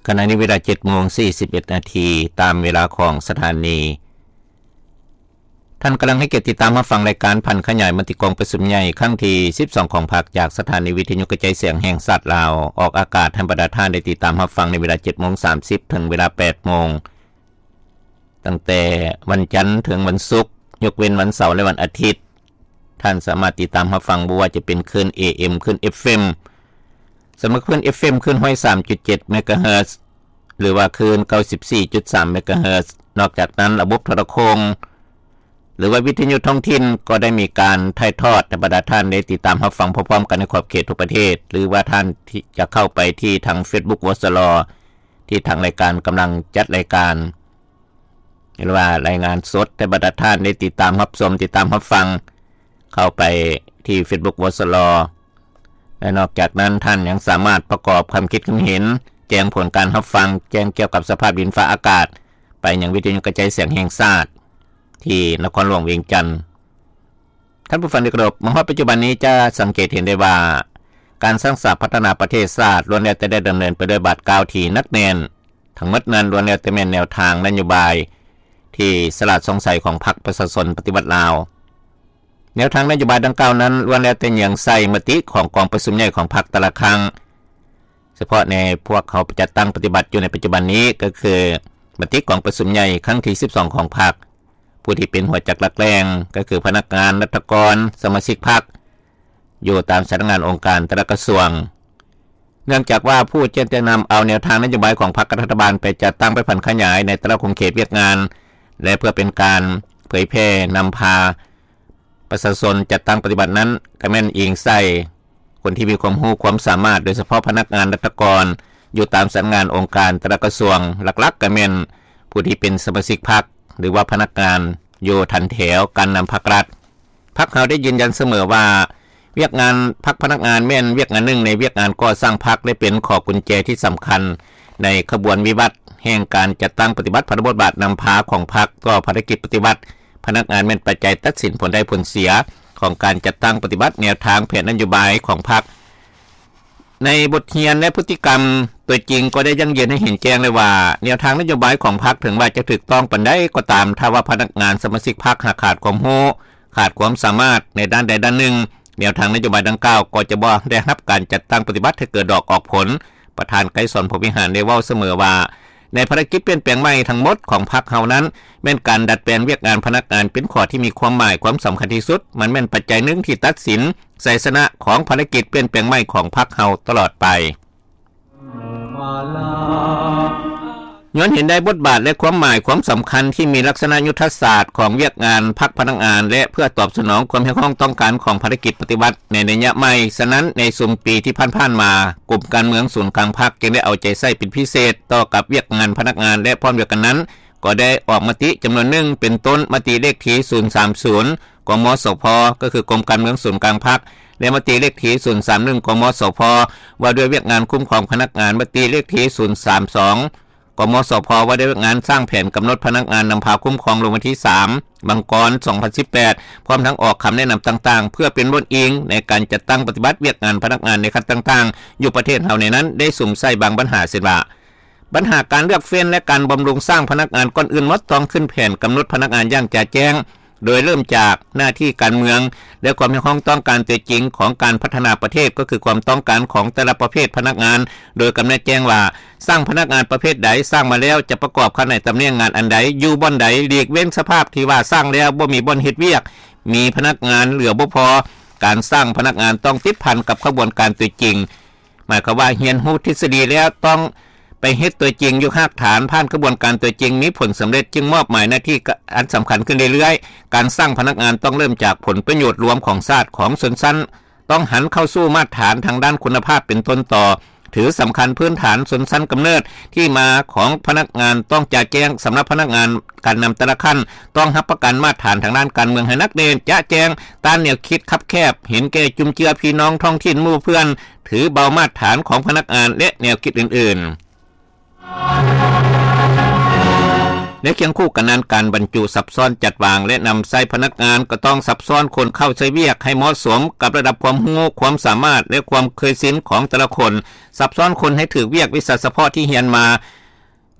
ຂະນະນີ້ເວລາເຈັດໂມງສີ່ສິບເອັດນາທີ ຕາມເວລາຂອງສະຖານີ. ທ່ານກຳລັງໃຫ້ກຽດຕິດຕາມຮັບຟັງລາຍການຜັນຂະຫຍາຍມະຕິກອງປະຊຸມໃຫຍ່ຄັ້ງທີສິບສອງຂອງພັກ ຈາກສະຖານີວິທະຍຸກະຈາຍສຽງແຫ່ງຊາດລາວ, ອອກອາກາດໃຫ້ບັນດາທ່ານໄດ້ຕິດຕາມຮັບຟັງໃນເວລາເຈັດໂມງສາມສິບ ເຖິງເວລາແປດໂມງ. ຕັ້ງແຕ່ວັນຈັນເຖິງວັນສຸກ, ຍົກເວັ້ນວັນເສົາ ແລະ ວັນອາທິດ, ທ່ານສາມາດຕິດຕາມຮັບຟັງບໍ່ວ່າຈະເປັນຄື້ນ ເອເອັມ, ຄື້ນ ເອັຟເອັມ. ສຳລັບຄື້ນ ເອຟເອັມ ຄື້ນຮ້ອຍສາມຈຸດເຈັດເມກະເຮີດ ຫຼືວ່າຄື້ນເກົ້າສິບສີ່ຈຸດສາມເມກະເຮີດ. ນອກຈາກນັ້ນ, ລະບົບໂທລະໂຄ່ງ ຫຼືວ່າວິທະຍຸທ້ອງຖິ່ນ ກໍໄດ້ມີການຖ່າຍທອດໃຫ້ບັນດາທ່ານໄດ້ຕິດຕາມຮັບຟັງພ້ອມໆກັນໃນຂອບເຂດທົ່ວປະເທດ ຫຼືວ່າທ່ານທີ່ຈະເຂົ້າໄປທີ່ທາງເຟສບຸກ ວສລ ທີ່ທາງລາຍການກຳລັງຈັດລາຍການ ຫຼືວ່າລາຍງານສົດໃຫ້ບັນດາທ່ານໄດ້ຕິດຕາມຮັບຊົມ, ຕິດຕາມຮັບຟັງ ເຂົ້າໄປທີ່ເຟສບຸກ ວສລ ແລະ ນອກຈາກນັ້ນ ທ່ານຍັງສາມາດປະກອບຄຳຄິດຄຳເຫັນ, ແຈ້ງຜົນການຮັບຟັງ, ແຈ້ງກ່ຽວກັບສະພາບດິນຟ້າອາກາດ ໄປຍັງວິທະຍຸກະຈາຍສຽງແຫ່ງຊາດ ທີ່ນະຄອນຫຼວງວຽງຈັນ. ທ່ານຜູ້ຟັງທີ່ເຄົາລົບ, ມາຮອດປັດຈຸບັນນີ້ຈະສັງເກດເຫັນໄດ້ວ່າ ການສ້າງສາພັດທະນາປະເທດຊາດ ລ້ວນແລ້ວແຕ່ໄດ້ດຳເນີນໄປດ້ວຍບາດກ້າວທີ່ໜັກແໜ້ນ. ທັງໝົດນັ້ນລ້ວນແລ້ວແຕ່ແມ່ນແນວທາງນະໂຍບາຍທີ່ສະຫຼາດສ່ອງໃສຂອງພັກປະຊາຊົນປະຕິວັດລາວ. ແນວທາງນະໂຍບາຍດັ່ງກ່າວນັ້ນ ລ້ວນແລ້ວແຕ່ເຍືອງໃສ່ມະຕິຂອງກອງປະຊຸມໃຫຍ່ຂອງພັກແຕ່ລະຄັ້ງ. ສະເພາະໃນພວກເຮົາຈັດຕັ້ງປະຕິບັດຢູ່ໃນປັດຈຸບັນນີ້ ກໍຄືມະຕິກອງປະຊຸມໃຫຍ່ຄັ້ງທີສິບສອງຂອງພັກ. ຜູ້ທີ່ເປັນຫົວຈັກຫຼັກແຫຼ່ງ ກໍຄືພະນັກງານ, ລັດຖະກອນ, ສະມາຊິກພັກ ຢູ່ຕາມສຳນັກງານອົງການແຕ່ລະກະຊວງ. ເນື່ອງຈາກວ່າຜູ້ຈະນຳເອົາແນວທາງນະໂຍບາຍຂອງພັກກັບລັດຖະບານໄປຈັດຕັ້ງ, ໄປຜັນຂະຫຍາຍໃນແຕ່ລະຂົງເຂດວຽກງານ ແລະ ເພື່ອເປັນການເຜີຍແຜ່ນຳພາປະຊາຊົນຈັດຕັ້ງປະຕິບັດນັ້ນ ກໍແມ່ນອີງໃສ່ ຄົນທີ່ມີຄວາມຮູ້ຄວາມສາມາດ, ໂດຍສະເພາະພະນັກງານລັດຖະກອນຢູ່ຕາມສຳນັກງານອົງການແຕ່ລະກະຊວງ, ຫຼັກໆກໍແມ່ນຜູ້ທີ່ເປັນສະມາຊິກພັກ ຫຼືວ່າພະນັກງານຢູ່ຖັນແຖວການນຳພັກລັດ. ພັກເຮົາໄດ້ຢືນຢັນສະເໝີວ່າ ວຽກງານພັກພະນັກງານແມ່ນວຽກງານໜຶ່ງໃນວຽກງານກໍ່ສ້າງພັກ ແລະ ເປັນຂໍ້ກຸນແຈທີ່ສຳຄັນໃນຂະບວນວິວັດແຫ່ງການຈັດຕັ້ງປະຕິບັດພາລະບົດບາດນຳພາຂອງພັກຕໍ່ພາລະກິດປະຕິວັດ. ພະນັກງານແມ່ນປັດໄຈຕັດສິນຜົນໄດ້ຜົນເສຍຂອງການຈັດຕັ້ງປະຕິບັດແນວທາງແຜນນະໂຍບາຍຂອງພັກ. ໃນບົດຮຽນ ແລະ ພຶດຕິກຳຕົວຈິງກໍໄດ້ຢັ້ງຢືນໃຫ້ເຫັນແຈ້ງແລ້ວວ່າ ແນວທາງນະໂຍບາຍຂອງພັກ ເຖິງວ່າຈະຖືກຕ້ອງປານໃດກໍຕາມ, ຖ້າວ່າພະນັກງານສະມາຊິກພັກຫາກຂາດຄວາມຮູ້, ຂາດຄວາມສາມາດໃນດ້ານໃດດ້ານໜຶ່ງ, ແນວທາງນະໂຍບາຍດັ່ງກ່າວກໍຈະບໍ່ໄດ້ຮັບການຈັດຕັ້ງປະຕິບັດໃຫ້ເກີດດອກອອກຜົນ. ປະທານໄກສອນ ພົມວິຫານ ໄດ້ເວົ້າສະເໝີວ່າ ໃນພາລະກິດປ່ຽນແປງໃໝ່ທັງໝົດຂອງພັກເຮົານັ້ນ ແມ່ນການດັດແປງວຽກງານພະນັກງານເປັນຂໍ້ທີ່ມີຄວາມໝາຍຄວາມສຳຄັນທີ່ສຸດ. ມັນແມ່ນປັດໄຈໜຶ່ງທີ່ຕັດສິນໄຊຊະນະຂອງພາລະກິດປ່ຽນແປງໃໝ່ຂອງພັກເຮົາຕະຫຼອດໄປ. ຍ້ອນເຫັນໄດ້ບົດບາດ ແລະ ຄວາມໝາຍຄວາມສຳຄັນທີ່ມີລັກສະນະຍຸດທະສາດຂອງວຽກງານພັກພະນັກງານ ແລະ ເພື່ອຕອບສະໜອງຄວາມຮຽກຮ້ອງຕ້ອງການຂອງພາລະກິດປະຕິວັດໃນໄລຍະໃໝ່, ສະນັ້ນ ໃນຊຸມປີທີ່ຜ່ານໆມາ, ກົມການເມືອງສູນກາງພັກຈຶ່ງໄດ້ເອົາໃຈໃສ່ເປັນພິເສດຕໍ່ກັບວຽກງານພະນັກງານ ແລະ ພ້ອມດຽວກັນນັ້ນ ກໍໄດ້ອອກມະຕິຈຳນວນໜຶ່ງ ເປັນຕົ້ນ ມະຕິເລກທີສູນສາມສູນ ກມສພ ກໍຄືກົມການເມືອງສູນກາງພັກ ແລະ ມະຕິເລກທີສູນສາມໜຶ່ງ ກມສພ ວ່າດ້ວຍວຽກງານຄຸ້ມຄອງພະນັກງານ, ມະຕິເລກທີສູນສາມສອງ ກມສພ ວ່າດ້ວຍວຽກງານສ້າງແຜນກຳນົດພະນັກງານນຳພາຄຸ້ມຄອງ ລົງວັນທີສາມ ມັງກອນ ສອງພັນສິບແປດ ພ້ອມທັງອອກຄຳແນະນຳຕ່າງໆ ເພື່ອເປັນບ່ອນອີງໃນການຈັດຕັ້ງປະຕິບັດວຽກງານພະນັກງານໃນຂັ້ນຕ່າງໆ ຢູ່ປະເທດເຮົາໃນນັ້ນ ໄດ້ສຸມໃສ່ບາງບັນຫາ ເຊັ່ນວ່າ ບັນຫາການເລືອກເຟ້ນ ແລະ ການບຳລຸງສ້າງພະນັກງານ, ກ່ອນອື່ນໝົດຕ້ອງຂຶ້ນແຜນກຳນົດພະນັກງານຢ່າງຈະແຈ້ງ, ໂດຍເລີ່ມຈາກໜ້າທີ່ການເມືອງ ແລະ ຄວາມຮຽກຮ້ອງຕ້ອງການຕົວຈິງຂອງການພັດທະນາປະເທດ, ກໍຄືຄວາມຕ້ອງການຂອງແຕ່ລະປະເພດພະນັກງານ, ໂດຍກຳນົດແຈ້ງວ່າ ສ້າງພະນັກງານປະເພດໃດ, ສ້າງມາແລ້ວຈະປະກອບຂະແໜງຕຳແໜ່ງງານອັນໃດ, ຢູ່ບ່ອນໃດ, ຫຼີກເວັ້ນສະພາບທີ່ວ່າສ້າງແລ້ວບໍ່ມີບ່ອນເຮັດວຽກ, ມີພະນັກງານເຫຼືອບໍ່ພໍ, ການສ້າງພະນັກງານຕ້ອງຕິດພັນກັບຂະບວນການຕົວຈິງ. ໝາຍຄວາມວ່າຮຽນຮູ້ທິດສະດີແລ້ວຕ້ອງໄປເຮັດຕົວຈິງຢູ່ຮາກຖານ, ຜ່ານຂະບວນການຕົວຈິງມີຜົນສຳເລັດ, ຈຶ່ງມອບໝາຍໜ້າທີ່ອັນສຳຄັນຂຶ້ນເລື້ອຍໆ. ການສ້າງພະນັກງານຕ້ອງເລີ່ມຈາກຜົນປະໂຫຍດລວມຂອງຊາດ, ຂອງຊົນຊັ້ນ, ຕ້ອງຫັນເຂົ້າສູ່ມາດຖານທາງດ້ານຄຸນນະພາບເປັນຕົ້ນຕໍ, ຖືສຳຄັນພື້ນຖານຊົນຊັ້ນກຳເນີດ, ທີ່ມາຂອງພະນັກງານຕ້ອງຈະແຈ້ງ, ສຳລັບພະນັກງານການນຳແຕ່ລະຂັ້ນ ຕ້ອງຮັບປະກັນມາດຖານທາງດ້ານການເມືອງໃຫ້ໜັກແໜ້ນ, ຈະແຈ້ງ, ຕ້ານແນວຄິດຄັບແຄບ, ເຫັນແກ່ຈຸນເຈືອພີ່ນ້ອງທ້ອງຖິ່ນໝູ່ເພື່ອນ, ຖືເບົາມາດຖານຂອງພະນັກງານ ແລະ ແນວຄິດອື່ນໆ. ລະຄຽງຄູ່ກັນນັ້ນ ການບັນຈຸຊັບຊ້ອນຈັດວາງ ແລະນຳໃຊ້ພະນັກງານ ກໍຕ້ອງຊັບຊ້ອນຄົນເຂົ້າໃຊ້ວຽກໃຫ້ເໝາະສົມກັບລະດັບຄວາມຮູ້, ຄວາມສາມາດ ແລະຄວາມເຄີຍຊິນຂອງແຕ່ລະຄົນ. ຊັບຊ້ອນຄົນໃຫ້ຖືກວຽກວິຊາສະເພາະທີ່ຮຽນມາ,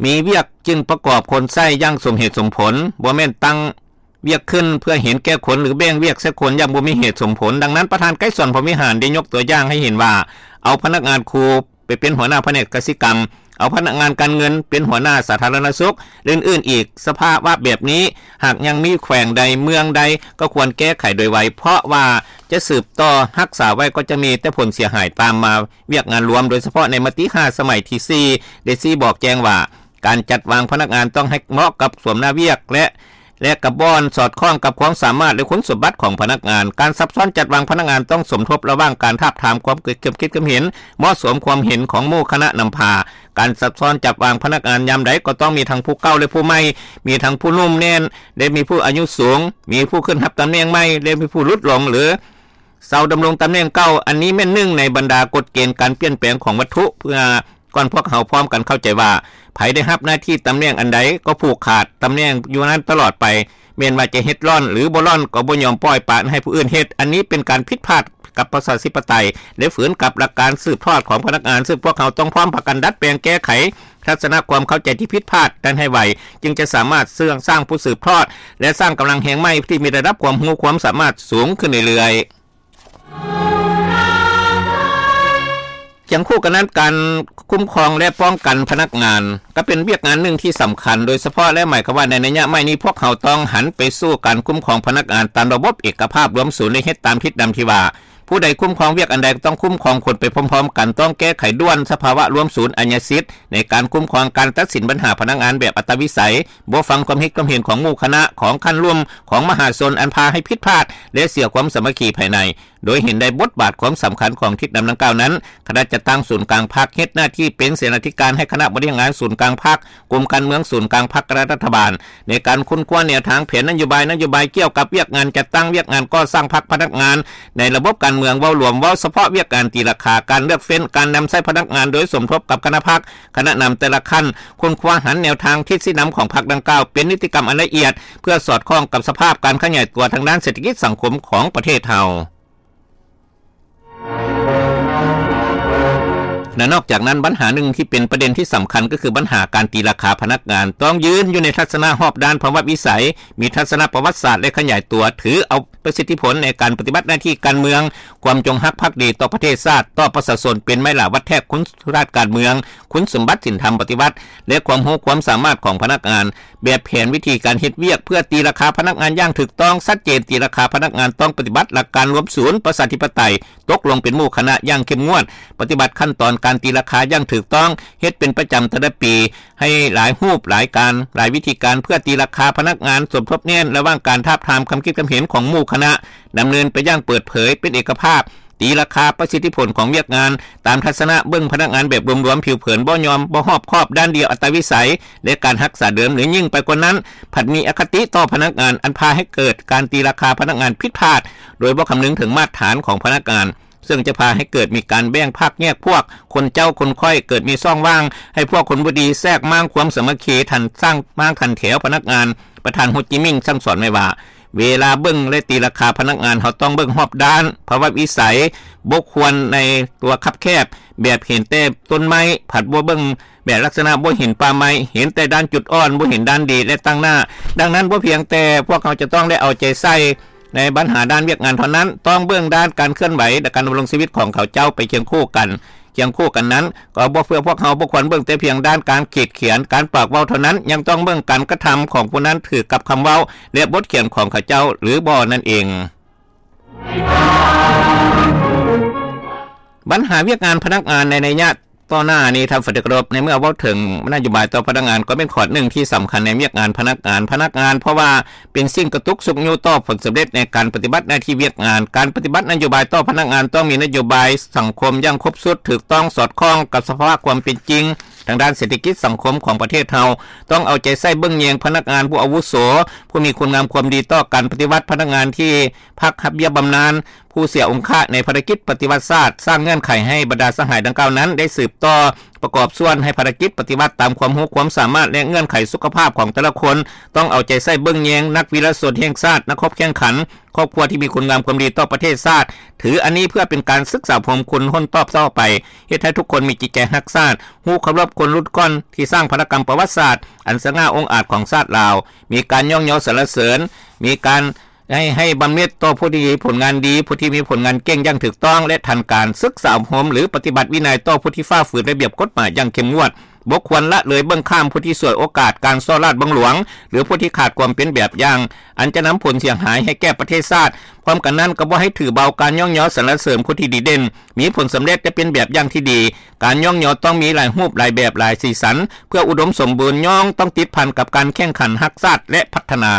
ມີວຽກຈຶ່ງປະກອບຄົນໃຊ້ຢ່າງສົມເຫດສົມຜົນ, ບໍ່ແມ່ນຕັ້ງວຽກຂຶ້ນເພື່ອເຫັນແກ່ຄົນ ຫຼືແບ່ງວຽກໃສ່ຄົນຢ່າງບໍ່ມີເຫດສົມຜົນ. ດັ່ງນັ້ນ ປະທານໄກສອນ ພົມວິຫານ ໄດ້ຍົກຕົວຢ່າງໃຫ້ເຫັນວ່າ ເອົາພະນັກງານຄູ ໄປເປັນຫົວໜ້າພະແນກກະສິກຳ, ເອົາພະນັກງານການເງິນເປັນຫົວໜ້າສາທາລະນະສຸກ ແລະອື່ນໆອີກ. ສະພາວະແບບນີ້ ຫາກຍັງມີແຂວງໃດເມືອງໃດ ກໍຄວນແກ້ໄຂໂດຍໄວ ເພາະວ່າຈະສືບຕໍ່ຮັກສາໄວ້ ກໍຈະມີແຕ່ຜົນເສຍຫາຍຕາມມາ. ວຽກງານລວມ ໂດຍສະເພາະໃນມະຕິຫ້າສະໄໝທີສີ່ ໄດ້ຊີ້ບອກແຈ້ງວ່າ ການຈັດວາງພະນັກງານຕ້ອງໃຫ້ເໝາະກັບສວມໜ້າວຽກ ແລະ ແລະກັບບ່ອນສອດຄ່ອງກັບຄວາມສາມາດ ແລະຄຸນສົມບັດຂອງພະນັກງານ. ການຊັບຊ້ອນຈັດວາງພະນັກງານຕ້ອງສົມທົບລະຫວ່າງການທາບທາມຄວາມຄິດຄວາມເຫັນເໝາະສົມ, ຄວາມເຫັນຂອງໝູ່ຄະນະນຳພາ. ການຊັບຊ້ອນຈັດວາງພະນັກງານຍາມໃດກໍຕ້ອງມີທັງຜູ້ເກົ່າ ແລະຜູ້ໃໝ່, ມີທັງຜູ້ໜຸ່ມແໜ້ນ ແລະມີຜູ້ອາຍຸສູງ, ມີຜູ້ຂຶ້ນຮັບຕຳແໜ່ງໃໝ່ ແລະມີຜູ້ຫຼຸດລົງ ຫຼື ເຊົາດຳລົງຕຳແໜ່ງເກົ່າ. ອັນນີ້ແມ່ນໜຶ່ງໃນບັນດາກົດເກນການປ່ຽນແປງຂອງວັດຖຸ ເພື່ອກ່ອນພວກເຮົາພ້ອມກັນເຂົ້າໃຈວ່າ ໃຜໄດ້ຮັບໜ້າທີ່ຕຳແໜ່ງອັນໃດກໍຜູກຂາດຕຳແໜ່ງຢູ່ນັ້ນຕະຫຼອດໄປ, ແມ່ນວ່າຈະເຮັດລ່ອນ ຫຼື ບໍ່ລ່ອນກໍບໍ່ຍອມປ່ອຍປະໃຫ້ຜູ້ອື່ນເຮັດ. ອັນນີ້ເປັນການຜິດພາດກັບປະຊາທິປະໄຕ ແລະ ຝືນກັບຫຼັກການສືບທອດຂອງພະນັກງານ, ຊຶ່ງພວກເຮົາຕ້ອງພ້ອມພາກັນດັດແປງແກ້ໄຂທັດສະນະຄວາມເຂົ້າໃຈທີ່ຜິດພາດນັ້ນໃຫ້ໄວ, ຈຶ່ງຈະສາມາດສ້າງ ສ້າງຜູ້ສືບທອດ ແລະ ສ້າງກຳລັງແຮງໃໝ່ທີ່ມີລະດັບຄວາມຮູ້ຄວາມສາມາດສູງຂຶ້ນເລື້ອຍໆ. ຄຽງຄູ່ກັນນັ້ນ ການຄຸ້ມຄອງ ແລະ ປ້ອງກັນພະນັກງານ ກໍເປັນວຽກງານໜຶ່ງທີ່ສຳຄັນໂດຍສະເພາະ ແລະ ໝາຍຄວາມວ່າໃນໄລຍະໃໝ່ນີ້ ພວກເຮົາຕ້ອງຫັນໄປສູ່ການຄຸ້ມຄອງພະນັກງານຕາມລະບົບເອກະພາບລວມສູນ ແລະ ເຮັດຕາມທິດນຳທີ່ວ່າ ຜູ້ໃດຄຸ້ມຄອງວຽກອັນໃດ ກໍຕ້ອງຄຸ້ມຄອງຄົນໄປພ້ອມໆກັນ, ຕ້ອງແກ້ໄຂດ່ວນສະພາວະລວມສູນອາຍາສິດໃນການຄຸ້ມຄອງການຕັດສິນບັນຫາພະນັກງານແບບອັດຕະວິໄສ, ບໍ່ຟັງຄວາມຄິດຄວາມເຫັນຂອງໝູ່ຄະນະ, ຂອງຂັ້ນລຸ່ມ, ຂອງມະຫາຊົນ ອັນພາໃຫ້ຜິດພາດ ແລະ ເສຍຄວາມສາມັກຄີພາຍໃນ. ໂດຍເຫັນໄດ້ບົດບາດຄວາມສຳຄັນຂອງທິດນຳດັ່ງກ່າວນັ້ນ, ຄະນະຈັດຕັ້ງສູນກາງພັກເຮັດໜ້າທີ່ເປັນເສນາທິການໃຫ້ຄະນະບໍລິຫານງານສູນກາງພັກ, ກົມການເມືອງສູນກາງພັກ ແລະ ລັດຖະບານ ໃນການຄົ້ນຄວ້າແນວທາງແຜນນະໂຍບາຍ, ນະໂຍບາຍກ່ຽວກັບວຽກງານຈັດຕັ້ງ, ວຽກງານກໍ່ສ້າງພັກ, ພະນັກງານໃນລະບົບການເມືອງເວົ້າລວມ, ເວົ້າສະເພາະວຽກງານຕີລາຄາ, ການເລືອກເຟ້ນ, ການນຳໃຊ້ພະນັກງານໂດຍສົມທົບກັບຄະນະພັກ, ຄະນະນຳແຕ່ລະຂັ້ນ, ຄົ້ນຄວ້າຫັນແນວທາງທິດຊີ້ນຳຂອງພັກດັ່ງກ່າວເປັນນິຕິກຳອັນລະອຽດ ເພື່ອສອດຄ່ອງກັບສະພາບການຂະຫຍາຍຕົວທາງດ້ານເສດຖະກິດສັງຄົມຂອງປະເທດເຮົາ. ແລະ ນອກຈາກນັ້ນ ບັນຫາໜຶ່ງທີ່ເປັນປະເດັນທີ່ສຳຄັນ ກໍຄືບັນຫາການຕີລາຄາພະນັກງານ ຕ້ອງຢືນຢູ່ໃນທັດສະນະຮອບດ້ານພາວະວິໄສ, ມີທັດສະນະປະຫວັດສາດ ແລະ ຂະຫຍາຍຕົວ, ຖືເອົາປະສິດທິຜົນໃນການປະຕິບັດໜ້າທີ່ການເມືອງ, ຄວາມຈົງຮັກພັກດີຕໍ່ປະເທດຊາດ, ຕໍ່ປະຊາຊົນ ເປັນໄມ້ຫຼາວັດແທກຄຸນສະມບັດການເມືອງ, ຄຸນສົມບັດສິນທຳປະຕິວັດ ແລະ ຄວາມຮູ້ຄວາມສາມາດຂອງພະນັກງານ. ແບບແຜນວິທີການເຮັດວຽກເພື່ອຕີລາຄາພະນັກງານຢ່າງຖືກຕ້ອງ, ຊັດເຈນ, ຕີລາຄາພະນັກງານຕ້ອງປະຕິບັດຫຼັກການລວມສູນປະຊາທິປະໄຕ, ຕົກລົງເປັນໝູ່ຄະນະຢ່າງເຂັ້ມງວດ, ປະຕິບັດຂັ້ນຕອນການຕີລາຄາຢ່າງຖືກຕ້ອງ, ເຮັດເປັນປະຈຳແຕ່ລະປີ, ໃຫ້ຫຼາຍຮູບ, ຫຼາຍການ, ຫຼາຍວິທີການເພື່ອຕີລາຄາພະນັກງານ, ສົມທົບແໜ້ນລະຫວ່າງການທາບທາມຄຳຄິດຄຳເຫັນຂອງໝູ່ຄະນະ, ດຳເນີນໄປຢ່າງເປີດເຜີຍ, ເປັນເອກະພາບ, ຕີລາຄາປະສິດທິຜົນຂອງວຽກງານ ຕາມທັດສະນະເບິ່ງພະນັກງານແບບລວມໆ, ຜິວເຜິນ, ບໍ່ຍອມ, ບໍ່ຮອບຄອບ, ດ້ານດຽວ, ອັດຕາວິໄສ ແລະ ການຮັກສາເດີມ ຫຼື ຍິ່ງໄປກວ່ານັ້ນ ພັດມີອະຄະຕິຕໍ່ພະນັກງານ ອັນພາໃຫ້ເກີດການຕີລາຄາພະນັກງານຜິດພາດ ໂດຍບໍ່ຄຳນຶງເຖິງມາດຖານຂອງພະນັກງານ ເຊິ່ງຈະພາໃຫ້ເກີດມີການແບ່ງພັກແຍກພວກ, ຄົນເຈົ້າຄົນຂ້ອຍ, ເກີດມີຊ່ອງວ່າງໃຫ້ພວກຄົນບໍ່ດີແຊກມ້າງຄວາມສາມັກຄີ, ທັນສ້າງມ້າງທັນແຖວພະນັກງານ. ປະທານໂຮຈິມິນສັ່ງສອນໄວ້ວ່າ ເວລາເບິ່ງ ແລະ ຕີລາຄາພະນັກງານ ເຮົາຕ້ອງເບິ່ງຮອບດ້ານ, ພາວະວິໄສ, ບໍ່ຄວນໃນຕົວຄັບແຄບ, ແບບເຫັນແຕ່ຕົ້ນໄມ້, ພັດບໍ່ເບິ່ງ ແບບລັກສະນະບໍ່ເຫັນປ່າໄມ້, ເຫັນແຕ່ດ້ານຈຸດອ່ອນ, ບໍ່ເຫັນດ້ານດີ ແລະ ຕັ້ງໜ້າ. ດັ່ງນັ້ນ, ບໍ່ພຽງແຕ່ພວກເຮົາຈະຕ້ອງໄດ້ເອົາໃຈໃສ່ໃນບັນຫາດ້ານວຽກງານເທົ່ານັ້ນ, ຕ້ອງເບິ່ງດ້ານການເຄື່ອນໄຫວ ແລະ ການດຳລົງຊີວິດຂອງເຂົາເຈົ້າໄປຄຽງຄູ່ກັນ. ຄຽງຄູ່ກັນນັ້ນ, ກໍບໍ່ເພື່ອພວກເຮົາບໍ່ຄວນເບິ່ງແຕ່ພຽງດ້ານການຂີດຂຽນ, ການປາກເວົ້າເທົ່ານັ້ນ, ຍັງຕ້ອງເບິ່ງການກະທຳຂອງຜູ້ນັ້ນຖືກກັບຄຳເວົ້າ ແລະ ບົດຂຽນຂອງເຂົາເຈົ້າ ຫຼື ບໍ່ນັ້ນເອງ. ບັນຫາວຽກງານພະນັກງານໃນໄລຍະຕໍ່ໜ້ານີ້ ທ່ານທີ່ເຄົາລົບ, ໃນເມື່ອເວົ້າເຖິງນະໂຍບາຍຕໍ່ພະນັກງານ ກໍເປັນຂໍ້ໜຶ່ງທີ່ສຳຄັນໃນວຽກງານພະນັກງານ, ພະນັກງານ ເພາະວ່າເປັນສິ່ງກະຕຸກຊຸກຍູ້ຕໍ່ຜົນສຳເລັດໃນການປະຕິບັດໜ້າທີ່ວຽກງານ. ການປະຕິບັດນະໂຍບາຍຕໍ່ພະນັກງານຕ້ອງມີນະໂຍບາຍສັງຄົມຢ່າງຄົບຊຸດ, ຖືກຕ້ອງ, ສອດຄ່ອງກັບສະພາວະຄວາມເປັນຈິງທາງດ້ານເສດຖະກິດສັງຄົມຂອງປະເທດເຮົາ, ຕ້ອງເອົາໃຈໃສ່ເບິ່ງແຍງພະນັກງານຜູ້ອາວຸໂສ, ຜູ້ມີຄຸນງາມຄວາມດີຕໍ່ການປະຕິວັດ, ພະນັກງານທີ່ພັກຮັບເບ້ຍບຳນານ, ຜູ້ເສຍອົງຄະໃນພາລະກິດປະຕິວັດຊາດ, ສ້າງເງື່ອນໄຂໃຫ້ບັນດາສະຫາຍດັ່ງກ່າວນັ້ນໄດ້ສືບຕໍ່ປະກອບສ່ວນໃຫ້ພາລະກິດປະຕິວັດຕາມຄວາມຮູ້ຄວາມສາມາດ ແລະ ເງື່ອນໄຂສຸຂະພາບຂອງແຕ່ລະຄົນ, ຕ້ອງເອົາໃຈໃສ່ເບິ່ງແຍງນັກວິລະຊົນແຫ່ງຊາດ, ນັກຮົບແຂ່ງຂັນ, ຄອບຄົວທີ່ມີຄຸນງາມຄວາມດີຕໍ່ປະເທດຊາດ, ຖືອັນນີ້ເພື່ອເປັນການສຶກສາອົບຮົມຄົນຮຸ່ນຕໍ່ໆໄປ, ເຮັດໃຫ້ທຸກຄົນມີຈິດໃຈຮັກຊາດ, ຮູ້ເຄົາລົບຄົນລຸ້ນກ່ອນທີ່ສ້າງພາລະກຳປະຫວັດສາດອັນສະຫງ່າອົງອາດຂອງຊາດລາວ, ມີການຍ້ອງຍໍສັນລະເສີນ, ມີການ ໃຫ້ ໃຫ້ບຳເນັດຕໍ່ຜູ້ທີ່ມີຜົນງານດີ, ຜູ້ທີ່ມີຜົນງານເກັ່ງຢ່າງຖືກຕ້ອງ ແລະ ທັນການ, ສຶກສາອົບຮົມ ຫຼື ປະຕິບັດວິໄນຕໍ່ຜູ້ທີ່ຝ່າຝືນລະບຽບກົດໝາຍຢ່າງເຂັ້ມງວດ, ບໍ່ຄວນລະເລີຍເບິ່ງຂ້າມຜູ້ທີ່ສວຍໂອກາດການສໍ້ລາດບັງຫຼວງ ຫຼື ຜູ້ທີ່ຂາດຄວາມເປັນແບບຢ່າງ ອັນຈະນຳຜົນເສຍຫາຍໃຫ້ແກ່ປະເທດຊາດ. ພ້ອມກັນນັ້ນກໍບໍ່ໃຫ້ຖືເບົາການຍ້ອງຍໍສັນລະເສີນຜູ້ທີ່ດີເດັ່ນ, ມີຜົນສຳເລັດ ແລະ ເປັນແບບຢ່າງທີ່ດີ. ການຍ້ອງຍໍຕ້ອງມີຫຼາຍຮູບ, ຫຼາຍແບບ, ຫຼາຍສີສັນ, ເພື່ອອຸດົມສົມບູນ, ຍ່ອງຕ້ອງຕິດພັນກັບການແຂ່ງຂັນຮັກຊາດ ແລະ ພັດທະນາ.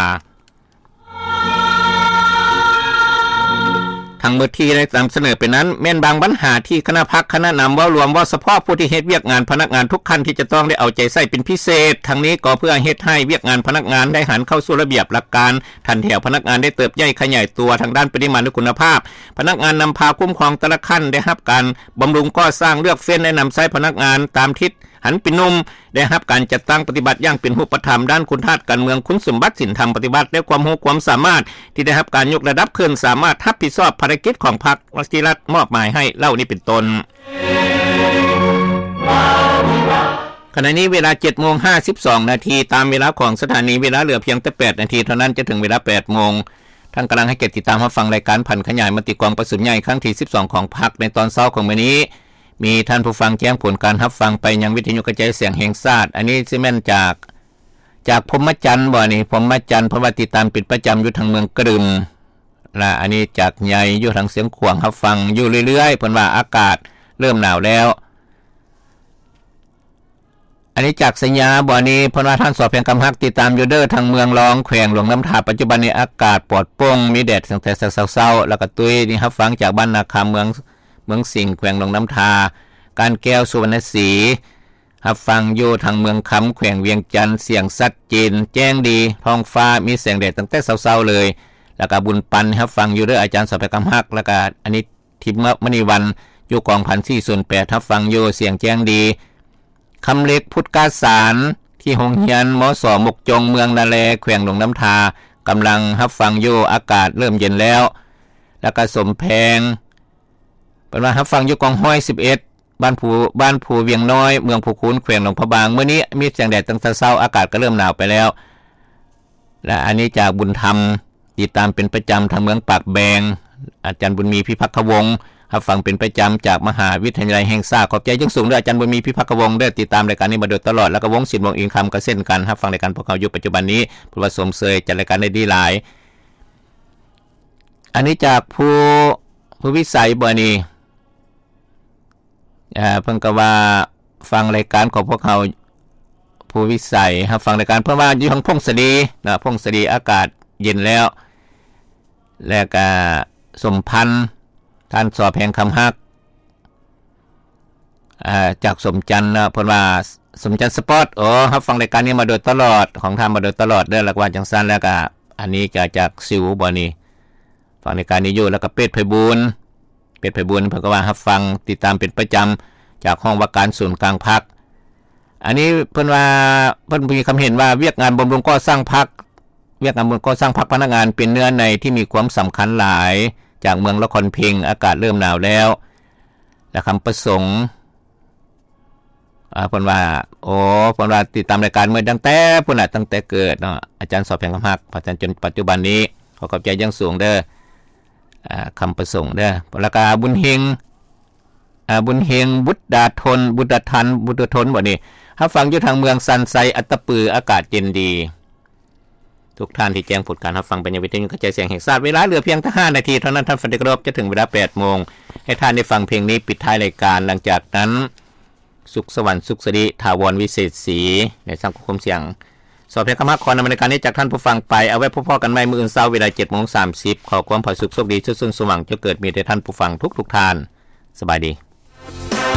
ທັງໝົດທີ່ໄດ້ນຳສະເໜີໄປນັ້ນ ແມ່ນບາງບັນຫາທີ່ຄະນະພັກ, ຄະນະນຳເວົ້າລວມ, ເວົ້າສະເພາະຜູ້ທີ່ເຮັດວຽກງານພະນັກງານທຸກຂັ້ນທີ່ຈະຕ້ອງໄດ້ເອົາໃຈໃສ່ເປັນພິເສດ. ທັງນີ້ກໍເພື່ອເຮັດໃຫ້ວຽກງານພະນັກງານໄດ້ຫັນເຂົ້າສູ່ລະບຽບຫຼັກການ, ຖັນແຖວພະນັກງານໄດ້ເຕີບໃຫຍ່ຂະຫຍາຍຕົວທາງດ້ານປະລິມານ ແລະ ຄຸນນະພາບ. ພະນັກງານນຳພາຄຸ້ມຄອງແຕ່ລະຂັ້ນໄດ້ຮັບການບຳລຸງກໍ່ສ້າງ, ເລືອກເຟັ້ນ ແລະ ນຳໃຊ້ພະນັກງານຕາມທິດ ຫັນເປັນໜຸ່ມ, ໄດ້ຮັບການຈັດຕັ້ງປະຕິບັດຢ່າງເປັນຮູບປະທຳດ້ານຄຸນທາດການເມືອງ, ຄຸນສົມບັດ, ສິນທຳປະຕິວັດ ແລະ ຄວາມຮູ້ຄວາມສາມາດທີ່ໄດ້ຮັບການຍົກລະດັບຂຶ້ນ, ສາມາດຮັບຜິດຊອບພາລະກິດຂອງພັກທີ່ລັດມອບໝາຍໃຫ້ເຫຼົ່ານີ້ເປັນຕົ້ນ. ຂະນະນີ້ເວລາເຈັດໂມງຫ້າສິບສອງນາທີ ຕາມເວລາຂອງສະຖານີ, ເວລາເຫຼືອພຽງແຕ່ແປດນາທີເທົ່ານັ້ນ ຈະເຖິງເວລາແປດໂມງ. ທ່ານກຳລັງໃຫ້ກຽດຕິດຕາມຮັບຟັງລາຍການຜັນຂະຫຍາຍມະຕິກອງປະຊຸມໃຫຍ່ຄັ້ງທີສິບສອງຂອງພັກໃນຕອນເຊົ້າຂອງມື້ນີ້. ມີທ່ານຜູ້ຟັງແຈ້ງຜົນການຮັບຟັງໄປຍັງວິທະຍຸກະຈາຍສຽງແຫ່ງຊາດ. ອັນນີ້ຊິແມ່ນຈາກ ຈາກພົມມະຈັນບໍນີ້? ພົມມະຈັນ ເພາະວ່າຕິດຕາມເປັນປະຈຳຢູ່ທາງເມືອງກະດຶມ ລະອັນນີ້ຈາກໃຫຍ່ຢູ່ທາງຊຽງຂວາງ ຮັບຟັງຢູ່ເລື້ອຍໆ, ເພິ່ນວ່າອາກາດເລີ່ມໜາວແລ້ວ. ອັນນີ້ຈາກໄຊຍາບໍນີ້? ເພິ່ນວ່າທ່ານ ສ.ແພງຄຳຮັກ ຕິດຕາມຢູ່ເດີ ທາງເມືອງລອງ ແຂວງຫຼວງນ້ຳທາ, ປັດຈຸບັນນີ້ອາກາດປອດໂປ່ງ ມີແດດຕັ້ງແຕ່ເຊົ້າໆ ແລ້ວກະຕຸ້ຍ. ນີ້ຮັບຟັງຈາກບ້ານນາຄຳ ເມືອງ ເມືອງສິງ ແຂວງຫຼວງນ້ຳທາ, ການແກ້ວ ສຸວັນນະສີ ຮັບຟັງຢູ່ທາງເມືອງຄຳ ແຂວງວຽງຈັນ, ສຽງຊັດເຈນແຈ້ງດີ, ທ້ອງຟ້າມີແສງແດດຕັ້ງແຕ່ເຊົ້າໆເລີຍ. ແລ້ວກະບຸນປັນ ຮັບຟັງຢູ່ເດີ ອາຈານ ສອບແພງຄຳຮັກ. ແລ້ວກະອັນນີ້ ທິບມະນີວັນ ຢູ່ກອງພັນສີ່ສູນແປດ ຮັບຟັງຢູ່ ສຽງແຈ້ງດີ. ຄຳເລັກ ພຸດກາສານ ທີ່ໂຮງຮຽນ ມສ ມົກຈົງ ເມືອງນາແລ ແຂວງຫຼວງນ້ຳທາ ກຳລັງຮັບຟັງຢູ່ ອາກາດເລີ່ມເຢັນແລ້ວ. ແລ້ວກະສົມແພງ ເພິ່ນວ່າຮັບຟັງຢູ່ກອງຮ້ອຍສິບເອັດ ບ້ານພູ ບ້ານພູວຽງນ້ອຍ ເມືອງພູຄູນ ແຂວງຫຼວງພະບາງ. ມື້ນີ້ມີແສງແດດຕັ້ງແຕ່ເຊົ້າ ອາກາດກໍເລີ່ມໜາວໄປແລ້ວ. ແລະ ອັນນີ້ຈາກບຸນທຳ ຕິດຕາມເປັນປະຈຳທາງເມືອງປາກແບງ. ອາຈານບຸນມີ ພິພັກຄະວົງ ຮັບຟັງເປັນປະຈຳຈາກມະຫາວິທະຍາໄລແຫ່ງຊາດ. ຂອບໃຈຢ່າງສູງເດີ ອາຈານບຸນມີ ພິພັກຄະວົງເດີ ຕິດຕາມລາຍການນີ້ມາໂດຍຕະຫຼອດ. ແລ້ວກໍວົງສິນ ວົງອິນຄຳ ກໍເຊັ່ນກັນ ຮັບຟັງລາຍການພວກເຮົາຢູ່ປັດຈຸບັນນີ້. ເພິ່ນວ່າຊົມເຊີຍ ຈັດລາຍການໄດ້ດີຫຼາຍ. ອັນນີ້ຈາກພູ ພູວິໄສບໍນີ້? ເອີ ເພິ່ນກໍວ່າຟັງລາຍການຂອງພວກເຮົາ ພູວິໄສ ຮັບຟັງລາຍການ ເພິ່ນວ່າຢູ່ທາງຜົ້ງສາລີເນາະ, ຜົ້ງສາລີອາກາດເຢັນແລ້ວ. ແລ້ວກະສົມພັນ ທ່ານ ສອແພງຄຳຮັກ ເອີ ຈາກສົມຈັນເນາະ, ເພິ່ນວ່າ ສົມຈັນສະປອດ ໂອ ຮັບຟັງລາຍການນີ້ມາໂດຍຕະຫຼອດ ຂອງທ່ານມາໂດຍຕະຫຼອດເດີ ແລ້ວກະວ່າຈັ່ງຊັ້ນ. ແລ້ວກະອັນນີ້ກະຈາກຊິວບໍນີ້? ຟັງລາຍການນີ້ຢູ່. ແລ້ວກໍເປດໄພບູນ ເປດໄພບູນ ເພິ່ນກໍວ່າຮັບຟັງຕິດຕາມເປັນປະຈຳຈາກຫ້ອງວ່າການສູນກາງພັກ. ອັນນີ້ເພິ່ນວ່າ ເພິ່ນມີຄຳເຫັນວ່າ ວຽກງານບຳລຸງກໍ່ສ້າງພັກ ວຽກງານບຳລຸງກໍ່ສ້າງພັກພະນັກງານເປັນເນື້ອໃນທີ່ມີຄວາມສຳຄັນຫຼາຍ ຈາກເມືອງລະຄອນເພັງ ອາກາດເລີ່ມໜາວແລ້ວ ແລະ ຄຳປະສົງ ອ່າ ເພິ່ນວ່າ ໂອ ເພິ່ນວ່າຕິດຕາມລາຍການມາຕັ້ງແຕ່ພຸ້ນນະ ຕັ້ງແຕ່ເກີດເນາະ ອາຈານສອບແພງຄຳຮັກ ມາຈົນປັດຈຸບັນນີ້. ຂໍຂອບໃຈຢ່າງສູງເດີ ອ່າ ຄຳປະສົງເດີ. ແລ້ວກະບຸນເຮັງ ອ່າ ບຸນເຮັງ ບຸດດາທົນ ບຸດດາທັນ ບຸດດາທົນບໍນີ້? ຮັບຟັງຢູ່ທາງເມືອງຊັນໄຊ ອັດຕະປື ອາກາດເຢັນດີ. ທຸກທ່ານທີ່ແຈ້ງຜົນການຮັບຟັງໄປຍັງວິທະຍຸກະຈາຍສຽງແຫ່ງຊາດ. ເວລາເຫຼືອພຽງແຕ່ຫ້ານາທີເທົ່ານັ້ນ ທ່ານຟັງທີ່ເຄົາລົບ, ຈະເຖິງເວລາແປດໂມງ ໃຫ້ທ່ານໄດ້ຟັງເພງນີ້ປິດທ້າຍລາຍການ. ຫຼັງຈາກນັ້ນ ສຸກສະຫວັນ ສຸກສະລິ ຖາວອນ ວິເສດສີ ໃນສັງຄົມສຽງ ສອບແພງຄຳຮັກ ຂໍນຳລາຍການນີ້ຈາກທ່ານຜູ້ຟັງໄປ. ເອົາໄວ້ພົບພໍ້ກັນໃໝ່ມື້ອື່ນເຊົ້າເວລາເຈັດໂມງສາມສິບ. ຂໍຄວາມຜາສຸກໂຊກດີ ສຸກສົມຫວັງ ຈົ່ງເກີດມີແດ່ທ່ານຜູ້ຟັງທຸກໆທ່ານ. ສະບາຍດີ.